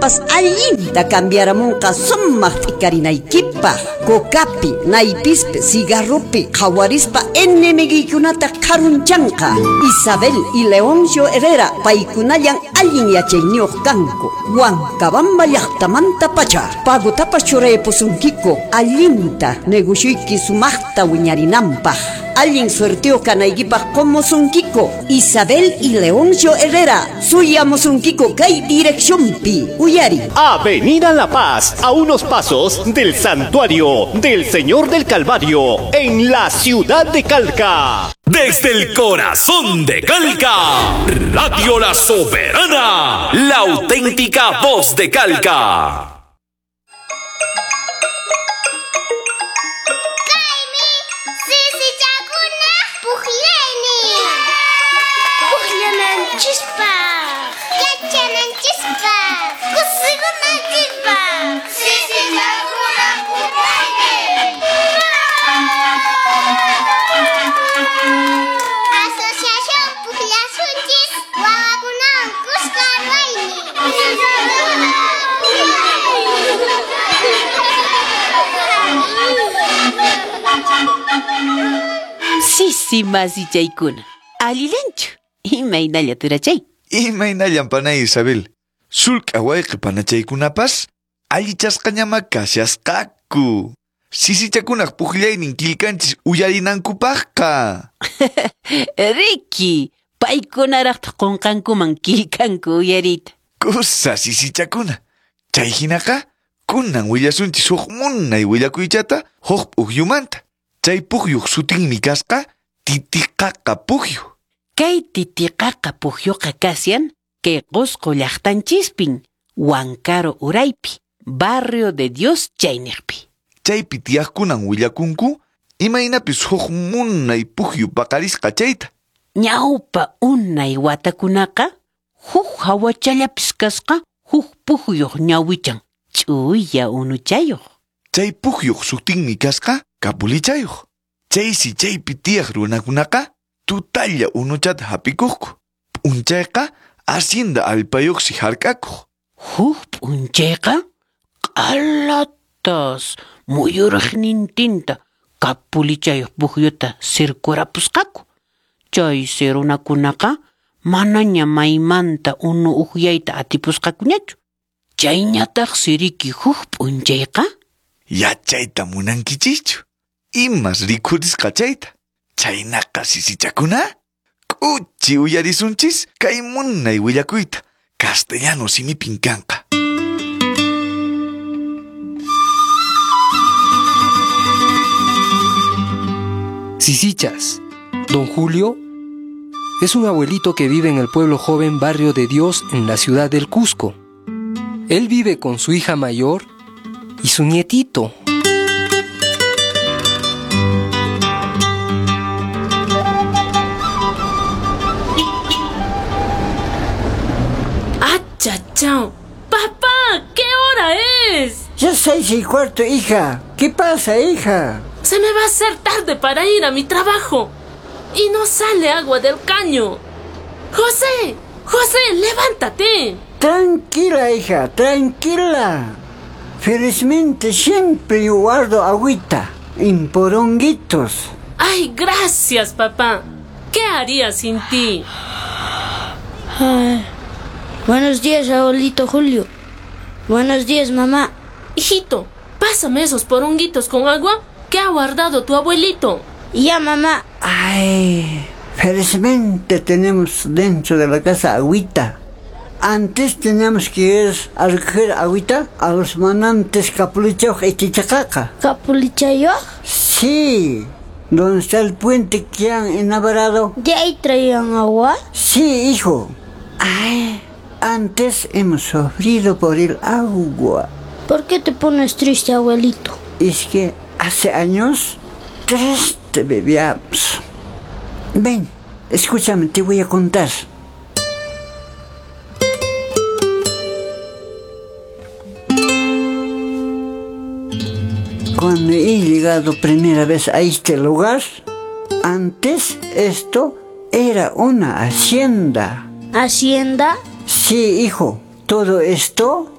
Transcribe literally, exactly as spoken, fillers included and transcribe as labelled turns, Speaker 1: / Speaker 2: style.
Speaker 1: Chaymantapas allinta cambiaramunqa sumaq t'ikarinaykipaq. Cocapi, naypispi, cigarropi qhawarispa enemiguykunata qharunchanqa. Isabel y Leoncio Herrera paykunallan allin yachayniyuq kanku. Huancabamba llaqtamanta pacha. Pagotapas churaypusunkiku allinta negocioyki sumaqta wiñarinanpaq. Allin suerteo kanaykipaq qomusunkiku. Isabel y Leoncio Herrera suyamusunkiku kay direccionpi. Uyari.
Speaker 2: Avenida La Paz, a unos pasos del Santuario del Señor del Calvario, en la ciudad de Calca.
Speaker 3: Desde el corazón de Calca, Radio La Soberana, la auténtica voz de Calca.
Speaker 4: Sisi masichaykuna, allilanchu, imaynalla turachay.
Speaker 5: Imaynallan panay Isabel, sulk'a wayqi panachaykunapas allichasqañama kashasqaku. Sisichakunaq puqllaynin killkanchis uyarinankupaqqa.
Speaker 4: Riki, paykunaraqtaq qunqankuman killkanku uyariyta.
Speaker 5: Kusa sisichakuna, chay hinaqa kunan willasunchis huk munay willakuychata huk p'ukyumanta. Chay pukyuq sutinmi kasqa Titiqaqa pukyu.
Speaker 4: Kay Titiqaqa pukyuqa kasyan kay Qusqu llaqtanchispin, Huancaro uraypi, Barrio de Dios chayniqpi.
Speaker 5: Chaypi tiyaqkunan willakunku imaynapis huk munay pukyu paqarisqa chayta.
Speaker 4: Ñawpa unay watakunaqa huk hawachallapis kasqa huk pukyuq ñawichan ch'uya unuchayuq.
Speaker 5: Chay pukyuq sutinmi kasqa kapulichayuq. Chaysi chaypi tiyaq runakunaqa tutalla unuchata hap'ikuqku. P'unchayqa hacienda allpayuqsi hark'akuq.
Speaker 4: Huk p'unchayqa q'alatas muyuriqnintinta kapulichayuq pukyuta sirkurapusqaku. Chaysi runakunaqa manaña maymanta unu ukyayta atipusqakuñachu. Chayñataqsi riki huk p'unchayqa
Speaker 5: yachayta munankichischu. Imas rikhurisqa chayta. Chaynaqa sisichakuna, k'uchi uyarisunchis kay munay willakuyta castellano simipin kanqa.
Speaker 6: Sisichas, don Julio es un abuelito que vive en el pueblo joven Barrio de Dios en la ciudad del Cusco. Él vive con su hija mayor y su nietito.
Speaker 7: ¡Achachao! ¡Papá! ¿Qué hora es?
Speaker 8: Ya seis y cuarto, hija. ¿Qué pasa, hija?
Speaker 7: Se me va a hacer tarde para ir a mi trabajo. Y no sale agua del caño. ¡José! ¡José, levántate!
Speaker 8: Tranquila, hija, tranquila. Felizmente siempre yo guardo agüita en poronguitos.
Speaker 7: Ay, gracias, papá. ¿Qué haría sin ti?
Speaker 9: Ay. Buenos días, abuelito Julio. Buenos días, mamá.
Speaker 7: Hijito, pásame esos poronguitos con agua que ha guardado tu abuelito.
Speaker 9: Ya, mamá.
Speaker 8: Ay, felizmente tenemos dentro de la casa agüita. Antes teníamos que ir a recoger agüita a los manantes Capulichayoj y Titicaca.
Speaker 9: ¿Capulichayoj?
Speaker 8: Sí, donde está el puente que han inaugurado.
Speaker 9: ¿De ahí traían agua?
Speaker 8: Sí, hijo. Ay, antes hemos sufrido por el agua.
Speaker 9: ¿Por qué te pones triste, abuelito?
Speaker 8: Es que hace años triste bebíamos. Ven, escúchame, te voy a contar. Cuando he llegado primera vez a este lugar, antes esto era una hacienda.
Speaker 9: ¿Hacienda?
Speaker 8: Sí, hijo. Todo esto